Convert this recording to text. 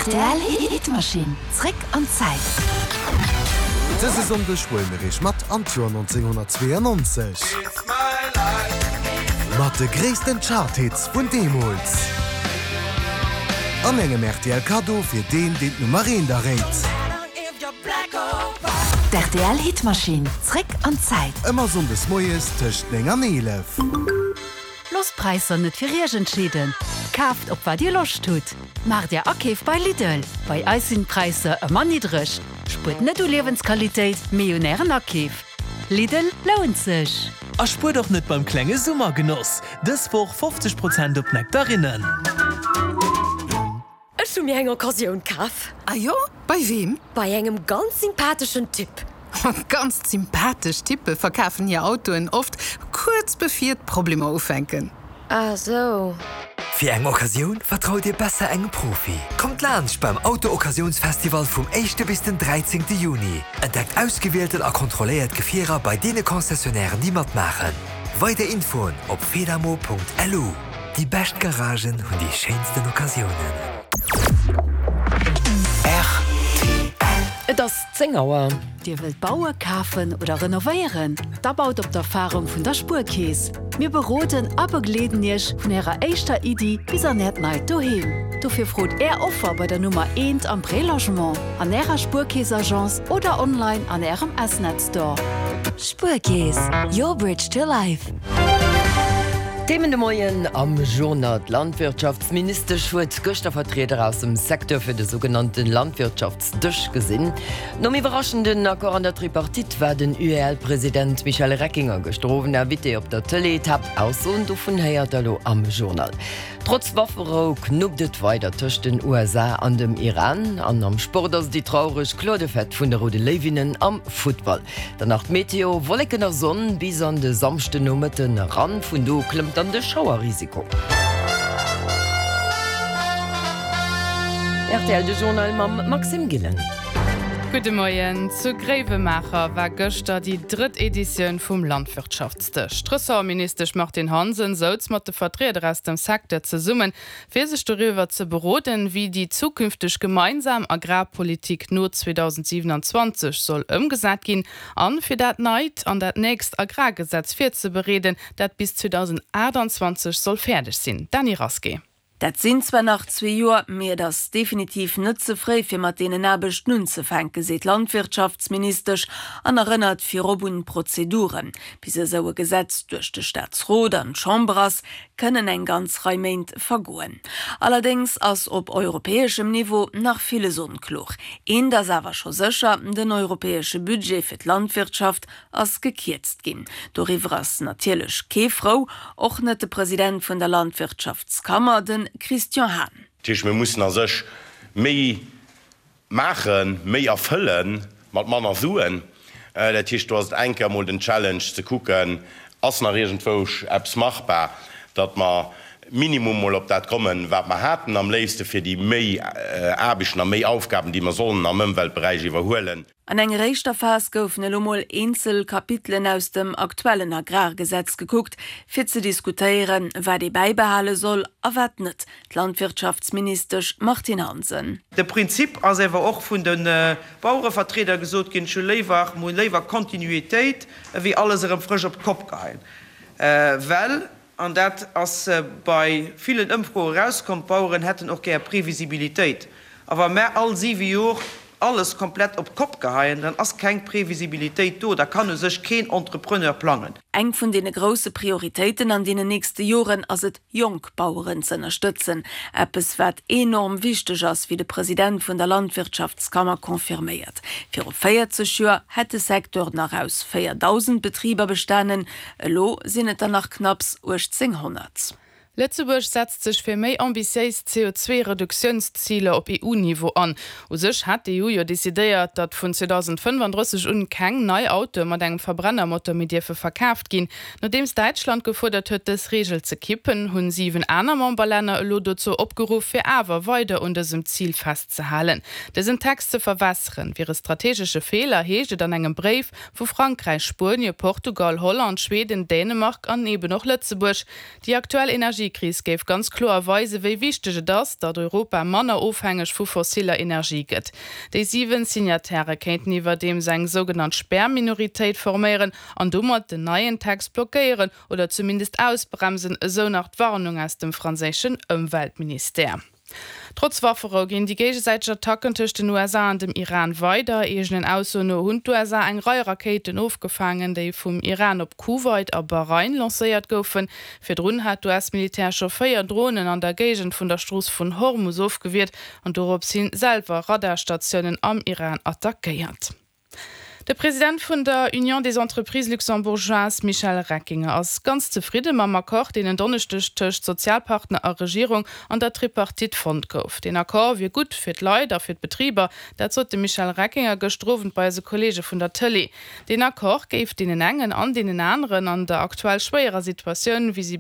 Rtl Hitmaschinn, zréck an d'Zäit. Dëse Sonndeg huele mir iech mat an d'Joer 1992. Mat de gréissten Charthits vun deemools. An engem rtl Kaddo fir deen, deen d'Nummer eent erréit. D'RTL Hitmaschinn, zréck an d'Zäit. Ëmmer Sonndes moies tëscht 9 an 11. Loosst d'Präisser net fir Iech entscheeden, kaaft op wat Dir Loscht hutt. Maacht Är Akeef bei Lidl, bei eis sinn d'Präisser ëmmer niddreg. Spuert net u Liewensqualitéit, mee un Ären Akeef. Lidl lount sech! A spuert och net beim klenge Summergenoss! Dës Woch 50 Prozent op Nektarinnen. Ech hu mir eng Occasioun kaf. Ah jo? Bei weem? Bei engem ganz sympatheschen Typ. Ganz sympathesch Typpe verkafen hir Autoen oft kuerz bevir d'Problemer ufänken. Ah sou. Fir eng Occasioun vertraut Dir besser engem Profi. Kommt laanscht beim Auto-Occasiounsfestival vum éischte bis den dräizéngte Juni. Entdeckt ausgewielten a kontrolléiert Gefierer bei deene Concessionnairen déi matmaachen. Weider Infoen op fedamo.lu. Déi bescht Garagen hunn déi schéinsten Occasiounen. Rtl. Et ass 10 Auer. Dir wëllt baue, kafen oder renovéieren? Da baut op d'Erfarung vun der Spuerkeess. Mir beroden a begleeden Iech vun Ärer éischter Iddi bis an Äert neit Doheem. Dofir frot Är Offer bei der Nummer eent am Prélogement, an Ärer Spuerkeess-Agence oder online an Ärem S-Net Store. Spuerkeess, your bridge to life. Themen de Moien am Journal, D'Landwirtschaftsministesch huet gëschter Vertrieder aus dem Secteur fir de sougenannte Landwirtschaftsdësch gesinn. Nom iwwerraschenden Accord an der Tripartite war den UEL-President Michel Reckinger gëschter Owend Invité op der Tëlee. D'Haaptaussoen dovun héiert der elo am Journal. Trotz Wafferou knuppt et weider tëscht den USA an dem Iran. An am Sport ass et déi traureg kloer Defaite vun de Roude Léiwinnen am Futtball. Dann nach d'Meteo, Wolleken a Sonn bis an de Samschdennomëtten eran, vun do u klëmmt dann de Schauerrisiko. Rtl, de Journal mam Maxime Gillen. Gudde Moien. Zu Gréiwemaacher war gëschter déi drëtt Editioun vum Landwirtschaftsdësch. D'Ressortministesch Martine Hansen souz mat de Vertrieder aus dem Secteur zesummen, fir sech doriwwer ze beroden, wéi déi zukünfteg gemeinsam Agrarpolitik no 2027 soll ëmgesat ginn an fir dat neit an dat nächst Agrargesetz virzebereeden, dat bis 2028 soll fäerdeg sinn. Dany Rasqué. Dat sinn zwar nach zwee Joer, mee et ass definitiv net ze fréi fir mat deenen Aarbechten unzefänken, seet d'Landwirtschaftsministesch an erënnert virop un d'Prozeduren. Bis esou e Gesetz duerch de Staatsrot an d'Chamber ass, kënnen eng ganz Rei Méint vergoen. Allerdéngs ass op europäeschem Niveau nach villes onkloer. Eent ass awer scho sécher, den europäesche Budget fir d'Landwirtschaft ass gekierzt ginn. Doriwwer ass natierlech kee frou, och net de President vun der Landwirtschaftskammer, de Christian Hahn. Dat heescht, mir mussen a sech méi maachen, méi erfëlle mat manner Suen. Dat heescht, do ass et eng Kéier emol den Challenge ze kucken, ass nach iergendwousch eppes machbar, datt mer minimum mol op dat kommen, wat mer haten, am léifste fir déi méi Aarbechten a méi Aufgaben, déi mer sollen am Ëmweltberäich iwwerhuelen. An enger éischter Phas goufen elo mol eenzel Kapitelen aus dem aktuellen Agrargesetz gekuckt, fir ze diskutéieren, wat ee bäibehale soll a wat net. D'Landwirtschaftsministesch Martine Hansen. De Prinzip ass ewer och vun de Bauerevertrieder gesot ginn, ech hu léiwer, mer hu léiwer Kontinuitéit ewéi alles erëm frësch op d'Kopp geheien, well, an dat ass bei villen Ëmfroe erauskomm, d'Baueren hätten och gär Previsibilitéit. A wa mer all siwe Jor alles komplett op d'Kopp geheien, dann ass keng Previsibilitéit do, da kann u sech keen Entrepreneur plangen. Eng vun deene grousse Prioritéiten an deenen nächste Joren ass et, jonk Baueren z'ënnerstëtzen. Eppes wat enorm wichteg ass, wéi de President vun der Landwirtschaftskammer confirméiert. Viru 40 Joer hätt de Secteur nach aus 4.000 Betriber bestanen, elo sinn et der nach knapps 1.800. Lëtzebuerg setzt sech fir méi ambitiéis CO2-Reduktiounsziler op EU-Niveau an. U sech hat d'EU jo decidéiert, datt vun 2035 un keng nei Autoe mat engem Verbrennermotor méi dierfe verkaaft ginn. Nodeems Däitschland gefuerdert huet, dës Reegel ze kippen, hunn 7 aner Memberlänner elo dozou opgeruff, fir awer weider un dësem Zil festzehalen. Dësen Text ze verwässeren, wier e strategesche Feeler, heescht et an engem Bréif vu Frankräich, Spuenie, Portugal, Holland, Schweden, Dänemark an eben och Lëtzebuerg. Déi aktuell Energiekris. Energiekris géif ganz kloer weisen, wéi wichteg et ass, datt Europa manner ofhängeg vu fossiller Energie gëtt. Déi 7 Signatairë kéinten iwwerdeems eng sougenannt Spärminoritéit forméieren an domat den neien Text blockéieren oder zumindest ausbremsen, esou nach d'Warnung aus dem franséischen Ëmweltministère. Trotz Wafferou ginn déi géigesäiteg Attacken tëscht den USA an dem Iran weider. Eegenen Aussoen no hunn d'USA eng Rei Rakéiten ofgefaangen, déi vum Iran op Kuwait a Bahrain lancéiert goufen. Virdrun hat d'US-Militär scho 4 Dronen an der Géigend vun der Strooss vun Hormus ofgewiert an dorops hin selwer Radarstatiounen am Iran attackéiert. De President vun der Union des Entreprises Luxembourgeoises Michel Reckinger ass ganz zefridde mam Accord, deen en Donneschdeg tëscht Sozialpartner a Regierung an der Tripartite fonnt gouf. Deen Accord wier gutt fir d'Leit a fir d'Betriber, dat sot de Michel Reckinger gëschter Owend bei eise Kolleege vun der Tëlee. Deen Accord géif deenen engen an deenen aneren an der aktuell schwéierer Situatioun, wéi si.